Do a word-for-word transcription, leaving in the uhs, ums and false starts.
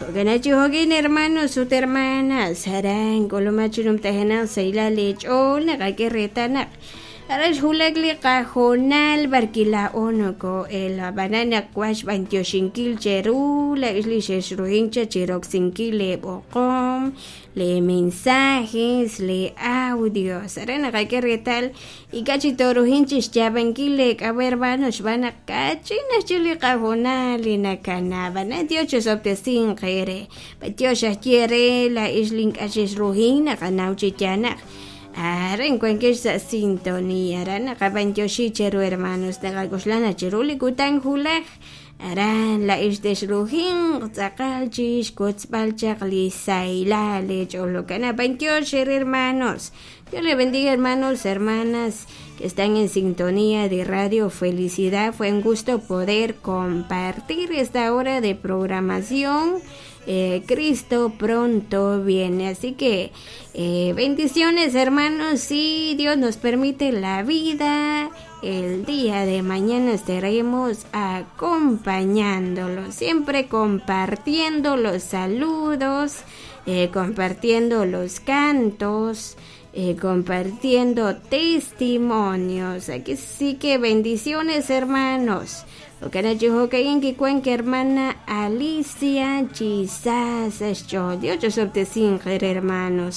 Jo'kan hermanos ut hermanas aran k'ulumaj chi numtajenaq sahilal leech'ool naqak'e reetal naq aran xwulak li qajoonal b'ar kilaa'o noko'el ab'anan naq waj xb'antioxinkil cheru la'ix li xexruhin cha chiroksinkil leeb'oqom le mensajes le audios aran naqak'e reetal ink'a' chi toruhin chixyaab'ankil leek'ab'a hermanos xb'aan naq kach'in ajchik li qajoonal li nakana ab'anan Dios chisob'tesinq eere b'antiox ajwi' re la'ix li ink'a' xexruhin naqanaw chi yaal naq aran wankex sa' sintonía aran naqab'antioxi cheru hermanos naqak'oxla naq chiru li kutan wulaj aran la'ix texruhinq tz'aqal chixkotzb'al chaq li sahilal leech'ool jo'kan b'antiox eere hermanos. Dios les bendiga, hermanos, hermanas que están en sintonía de Radio Felicidad. Fue un gusto poder compartir esta hora de programación. Eh, Cristo pronto viene. Así que eh, bendiciones, hermanos. Si Dios nos permite la vida, el día de mañana estaremos acompañándolos, siempre compartiendo los saludos, eh, compartiendo los cantos. Eh, compartiendo testimonios. Aquí sí que bendiciones, hermanos. Jo'kan hermana Alicia Chisas Dios hermanos.